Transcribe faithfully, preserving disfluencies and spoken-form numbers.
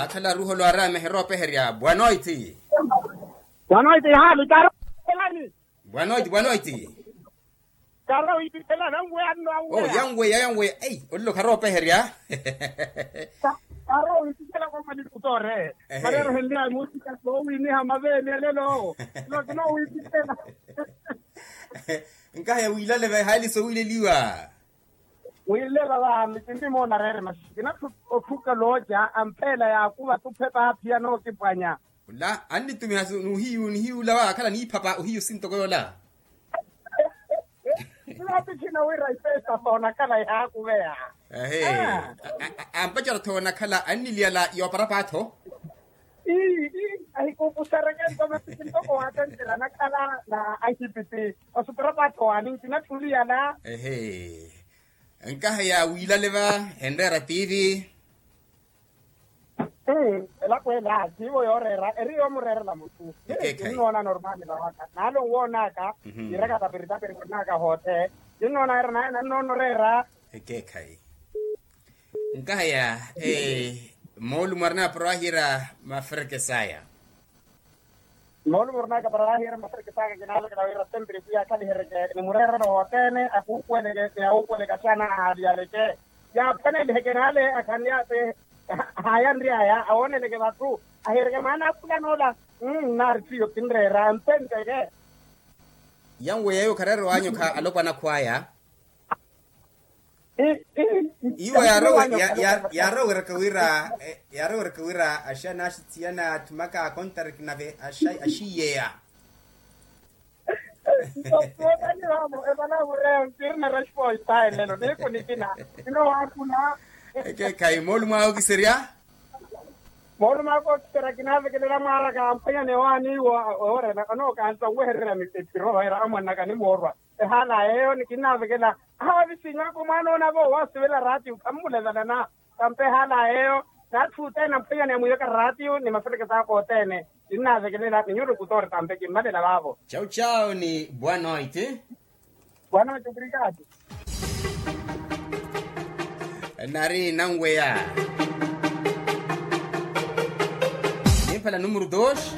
Akhala ruholo aramehe roopeherya bwanoiti. Bwanoiti hali karo. Bwanoiti bwanoiti. Karo wipitela nanweya nno anweya. Yanweya yanweya ei olilo kharoopeherya. Karo wipitela kwa mani kutore. Marero henlya mutika sowiniha maveeni alelo. Nokina wipitela. Nkaheya wiilale vahaali sowiileliwa. Wiileva vahami sinti moona reere masi kinatthu otthuka looca ampheela yaakuva tuphepa aphiyana okipwanya. Ola annitumiha n'uhiyu nihiyu ola waakhala niiphapa ohiyu sintoko yoola. Naapikhina wira ipesa soonakhala ihaakuveya. Ampacerya-tho onakhala anniliyala yooparapa-tho. Ii ii ahikuupusereke nto masi kintoko waatenttera anakhala na ahipiti. Osupira paatho waani nkinatthuliyala. Ehe. Nkaheya wiilale va henreera tiivi. Elapo ela siivo yooreera eri yoomureerela mutthu. Kinnoona normaali vawaka naale onwoonaka. Kiiraka tapiritapiri konnaka hoothe. Kinnoona era naye nannoona oreera. Ekeekhayi. Nkaheya moolumo arina para waahiira maferekesaya. Moolumo arina para waahiira maferekesaya kinaavekela wira sempiri pwiya akhalihereke ni mureerelo wothene akuupuweleke ni awuupuweleke axaana ahaaviyaleke. Yaaphwaneliheke naale akhanlyate. Haayanry'aya awooneleke vatthu ahiireke mwaana akhula noola. Nnaari ttiyo kinreera mpenteke. Yanweya eyo khareera owaanyokha alopwana akhw'aya. Iwo yaaroweraka wira yaaroweraka wira axana axitsiyana atthumaka akontariki nave axiyeya. Nto sookani vamo evanavureo ntirina resposta elelo niiku nikina. Kinowaakuna. Ekeekhayi moolumo awe okiserya. Moolumo awe okiserya kinaavekelela mwaaraka amphwanyani owaani iwo. Oorena onookansa owehererya mitepiro era amwanaka nimoorwa. Ehaala yeeyo ni kinnaavekela. Ahaavi sinyaka omwaana onavo owaasivela raatiyo khammulevelana. Tampe ehaala yeeyo n'atthu othene amphwanyani amwiiveka raatiyo ni maferekesa aka othene. Kinnaavekelela ni nyuruku toori tampe kimmalela vaavo. Chau chau ni bwanoiti. Bwanoiti obrigado. Nari nanweya. Nimpala numuru dos.